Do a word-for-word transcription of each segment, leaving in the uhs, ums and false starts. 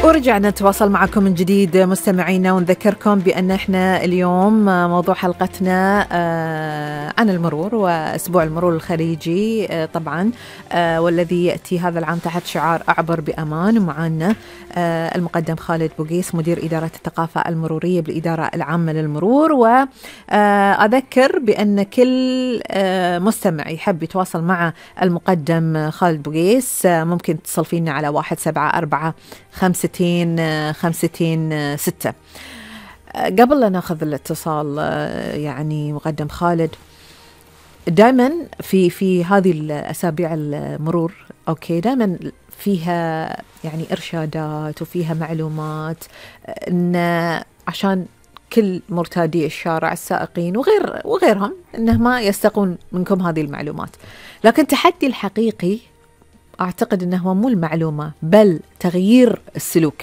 ورجعنا نتواصل معكم من جديد مستمعينا، ونذكركم بأن احنا اليوم موضوع حلقتنا عن المرور وأسبوع المرور الخليجي طبعا، والذي يأتي هذا العام تحت شعار أعبر بأمان. ومعنا المقدم خالد بوقيس مدير إدارة الثقافة المرورية بالإدارة العامة للمرور. وأذكر بأن كل مستمع يحب يتواصل مع المقدم خالد بوقيس ممكن تتصل فينا على واحد سبعة أربعة خمسة خمسة ستة. قبل لا ناخذ الاتصال يعني مقدم خالد، دائما في في هذه الأسابيع المرور أوكي دائما فيها يعني إرشادات وفيها معلومات إن عشان كل مرتادي الشارع السائقين وغير وغيرهم إنه ما يستقون منكم هذه المعلومات. لكن التحدي الحقيقي أعتقد أنه هو مو المعلومة بل تغيير السلوك.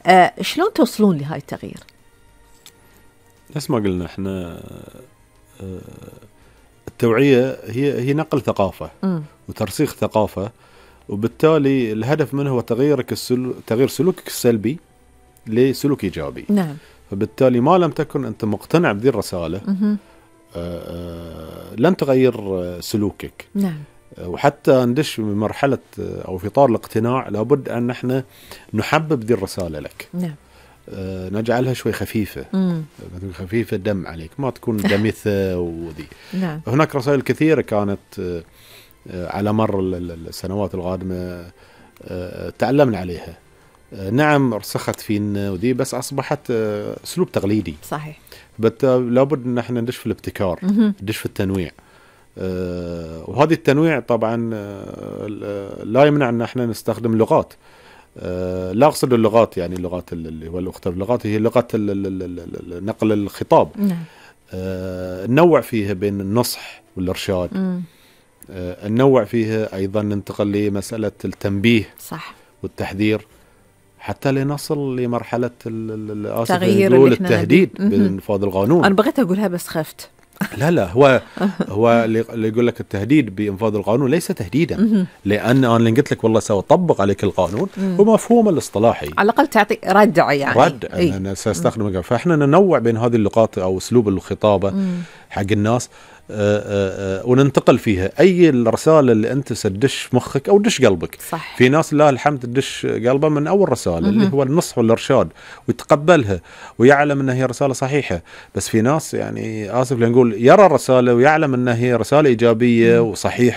أه شلون توصلون لهاي التغيير؟ نفس ما قلنا احنا أه التوعية هي هي نقل ثقافة م. وترسيخ ثقافة، وبالتالي الهدف منه هو تغييرك السلو... تغيير سلوكك السلبي لسلوك إيجابي. نعم. فبالتالي ما لم تكن أنت مقتنع بذي الرسالة أه أه لن تغير سلوكك. نعم. وحتى ندش بمرحلة أو في إطار الاقتناع لابد أن احنا نحبب ذي الرسالة لك. نعم. أه نجعلها شوي خفيفة. مم. خفيفة دم عليك، ما تكون دمثة وذي. نعم. هناك رسائل كثيرة كانت أه على مر السنوات القادمة أه تعلمنا عليها. أه نعم رسخت فينا وذي، بس أصبحت أه أسلوب تقليدي. صحيح. لابد أن احنا ندش في الابتكار، ندش في التنويع. أه وهذه التنويع طبعا أه لا يمنع ان احنا نستخدم لغات. أه لا اقصد اللغات يعني اللغات اللي هو الاختلاف اللغات هي لغه نقل الخطاب. نعم. أه ننوع فيها بين النصح والارشاد. أه ننوع فيها ايضا ننتقل لمساله التنبيه. صح. والتحذير حتى لنصل لمرحله تغيير التهديد بانفاذ القانون. انا بغيت اقولها بس خفت. لا لا هو هو اللي يقول لك التهديد بإنفاذ القانون ليس تهديدا، لأن أنا اللي قلت لك والله سوى طبق عليك القانون هو مفهوم الاصطلاحي، على الأقل تعطي ردع يعني رد. أنا سأستخدم، فإحنا ننوع بين هذه اللغات أو أسلوب الخطابة مم. حق الناس أه أه أه وننتقل فيها أي الرسالة اللي أنت سدش مخك أو دش قلبك. صح. في ناس لا الحمد تدش قلبه من أول رسالة مم. اللي هو النصح والإرشاد ويتقبلها ويعلم أنها هي رسالة صحيحة. بس في ناس يعني آسف لنقول يرى الرسالة ويعلم أنها هي رسالة إيجابية مم. وصحيحة